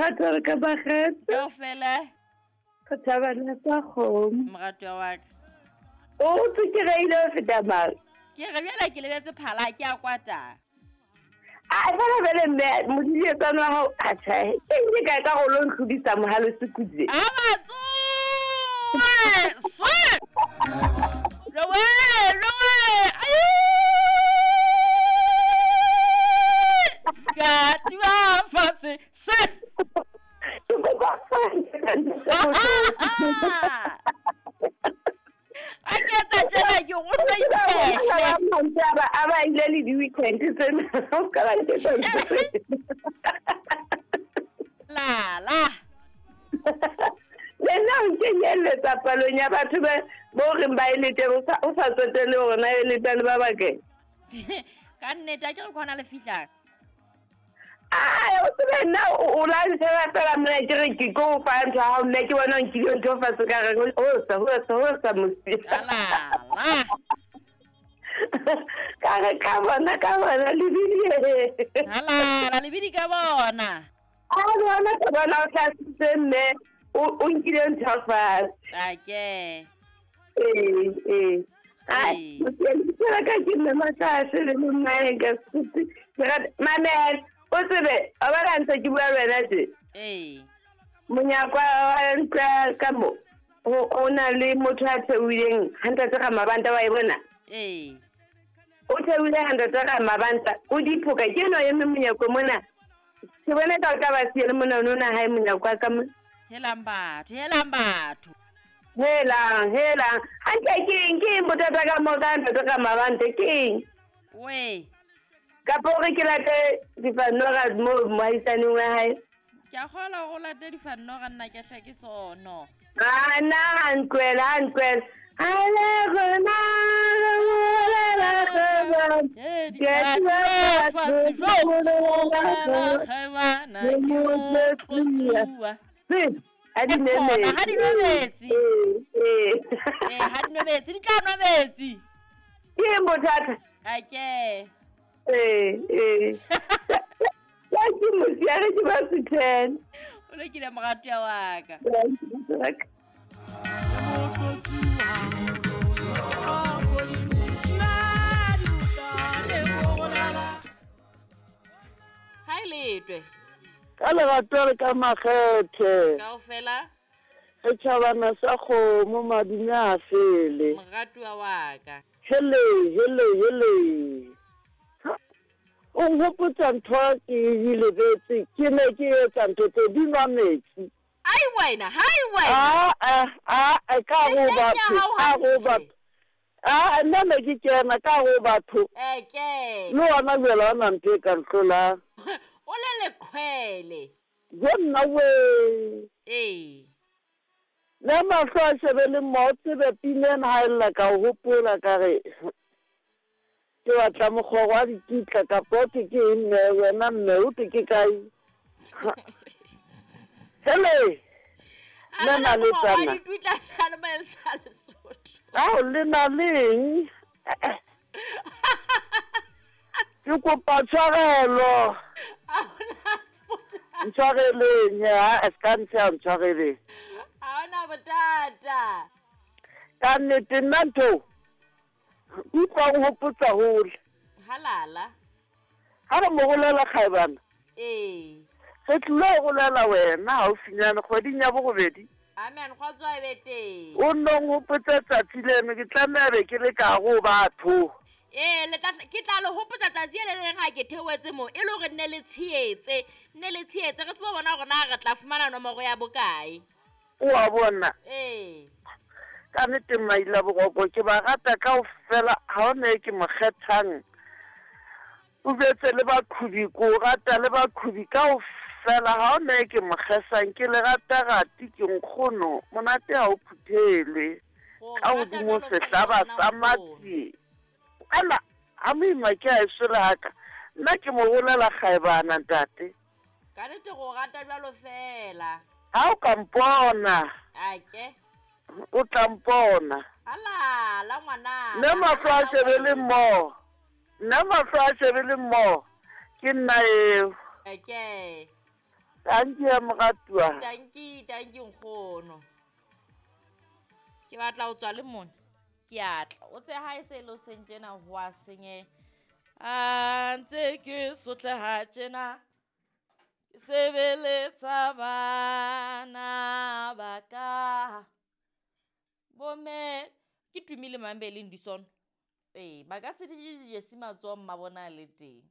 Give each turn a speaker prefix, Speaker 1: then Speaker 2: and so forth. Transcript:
Speaker 1: lerato re ka bakgetha.
Speaker 2: Kaofela.
Speaker 1: Go thabana sa kgomo.
Speaker 2: Moratuwa wa ka.
Speaker 1: O tsokereile ho feta mang?
Speaker 2: Ke re bjale ke lebetse phala ke a kwata.
Speaker 1: A fela bele mme modidietsane wa hao a tjhae. Ke nke kae ka go lo ntlhodisa mohalo sekutse.
Speaker 2: A batsoe! Se! Rowe! Rowe! Ai! Ka tua fatshe. Se!
Speaker 1: Ke kopa
Speaker 2: A ke etsa tjena ke go nna iphehle.
Speaker 1: A ba ile le di-weekend tsena o ka ba nketsa ntho tse.
Speaker 2: La la.
Speaker 1: Le nna o nkenyelletsa palong ya batho ba bo reng ba e lete o sa tsotelle hore na e leta le ba bakae.
Speaker 2: Ka nnete a ke re khona le fihlang.
Speaker 1: Ai, o tsebe nna o la ntsheba fela mona ke re ke ko o fa ntho ya hao mme ke bona o nkile ntho fatshe ka re hosa hosa hosa mosi.
Speaker 2: La la.
Speaker 1: Ka re ka bona ka bona lebidi.
Speaker 2: La la lebidi ka bona.
Speaker 1: A bona ka bona o tlasitse mme o nkile ntho fatshe.
Speaker 2: Ake.
Speaker 1: Ee, ee. Ai, motsela ka ke mme Matlase le mmae ka setse. Ke rata mamela o tsebe wa bona ntse ke bua le wena tje.
Speaker 2: Ee.
Speaker 1: Monyako wa ntlo ya ka mo o na le motho a theohileng ha ntate Ramabanta wa e bona.
Speaker 2: Ee.
Speaker 1: O theohile ha ntate Ramabanta o diphoka ke eno eme monyako mona. Ke bona ka o tla ba siye le mona o na hae monyako wa ka mona.
Speaker 2: Helang batho, helang batho.
Speaker 1: Helang, helang. Hantle ke eng, ke eng bothata ka mo ka ntate Ramabanta ke eng?
Speaker 2: We.
Speaker 1: Kapa o re ke late difanora mo moahisaneng wa hae?
Speaker 2: Ke a kgolwa hore o late difanora nna ke hle ke sono.
Speaker 1: Ah, nna ha ntlohela, ha ntlohela. A le rona re bolela kgwebo. Ke a
Speaker 2: fatshe jo kgwebana ke motlotsuwa.
Speaker 1: Ha di nwe metsi.
Speaker 2: Ha di nwe metsi.
Speaker 1: Ee,
Speaker 2: ee. Ha di nwe metsi, di tla nwa metsi.
Speaker 1: Ke eng bothata?
Speaker 2: Ake.
Speaker 1: Ee, ee. Ka ke mosiare ke ba suthela.
Speaker 2: O lokile moratuwa wa ka. Ha e letwe.
Speaker 3: Ka lerato le ka makgethe.
Speaker 2: Kaofela.
Speaker 3: Setjhabana sa kgomo madume a fele.
Speaker 2: Moratuwa wa ka.
Speaker 3: Hele, hele, hele. O nhopotsa ntho ke e lebetse, ke ne ke etsa ntho tse di nwa metsi.
Speaker 2: Ai wena, hai wena.
Speaker 3: A a ka go batho, ka go batho. A nna ne ke kena ka go batho.
Speaker 2: Eke.
Speaker 3: Le wona jwale ha ona ntho e ka nhlolang.
Speaker 2: O le leqhwele.
Speaker 3: Jo nna we.
Speaker 2: Ee.
Speaker 3: Le mahlo a shebe le mmo, o tsebe pina ena ha e lla ka o hopola ka re ke batla mokgoro wa dikitla kapa o thwe ke eng mme wena mme o thwe ke kae? Hele! Le na le tsana. Ao le na le eng? Ke kopa tshwarelo. Ntshwareleng ha se ka ntsha ntshwareleng.
Speaker 2: Ha ona bothata.
Speaker 3: Ka nnete nna ntho utlwa o hopotsa hole.
Speaker 2: Halala.
Speaker 3: Ha re mo bolela kgaebana.
Speaker 2: Ee.
Speaker 3: Re tlilo bolela wena haufinyane kgweding ya borobedi.
Speaker 2: Amen, kgotso e be teng.
Speaker 3: O nno nhopotse tsatsi leno ke tlameha be ke le ka go batho.
Speaker 2: Ee, le tla ke tla le hopotsa tsatsi le leng ha ke theohetse mo e le hore nne le tshehetse, nne le tshehetse re tsebe bona hore na re tla fumana nomoro ya bokae.
Speaker 3: O a bona?
Speaker 2: Ee.
Speaker 3: Ka nnete Maila Boroko ke ba rata kaofela ha ona e ke mo kgethang. O betse le baqhubi ko rata le baqhubi kaofela ha ona e ke mo kgesang ke le rata rati ke nkgono monate ha o phuthelwe. Ka hodimo sehlaba sa matsie. Ana ha moima ke a eso le haka nna ke mo bolela kgaebana ntate.
Speaker 2: Ka nnete go rata jwalo fela.
Speaker 3: Ha o ka mpona.
Speaker 2: Ake.
Speaker 3: O tla mpona.
Speaker 2: Alala ngwana.
Speaker 3: Nna mahlo a shebe le mmo. Nna mahlo a shebe le mmo. Ke nna eo.
Speaker 2: Ake.
Speaker 3: Tanki ya moratuwa.
Speaker 2: Tanki, tanki nkgono. Ke batla ho tswa le mona. Ke a tla. O tse ha e se e le hoseng tjena ho a senyeha. A ntse ke sotleha tjena. Ke sebeletsa bana ba ka. Bomme ke Tumile Mambe le Ndisono. Ee, ba ka se dijesi matsoho mma bona a le teng.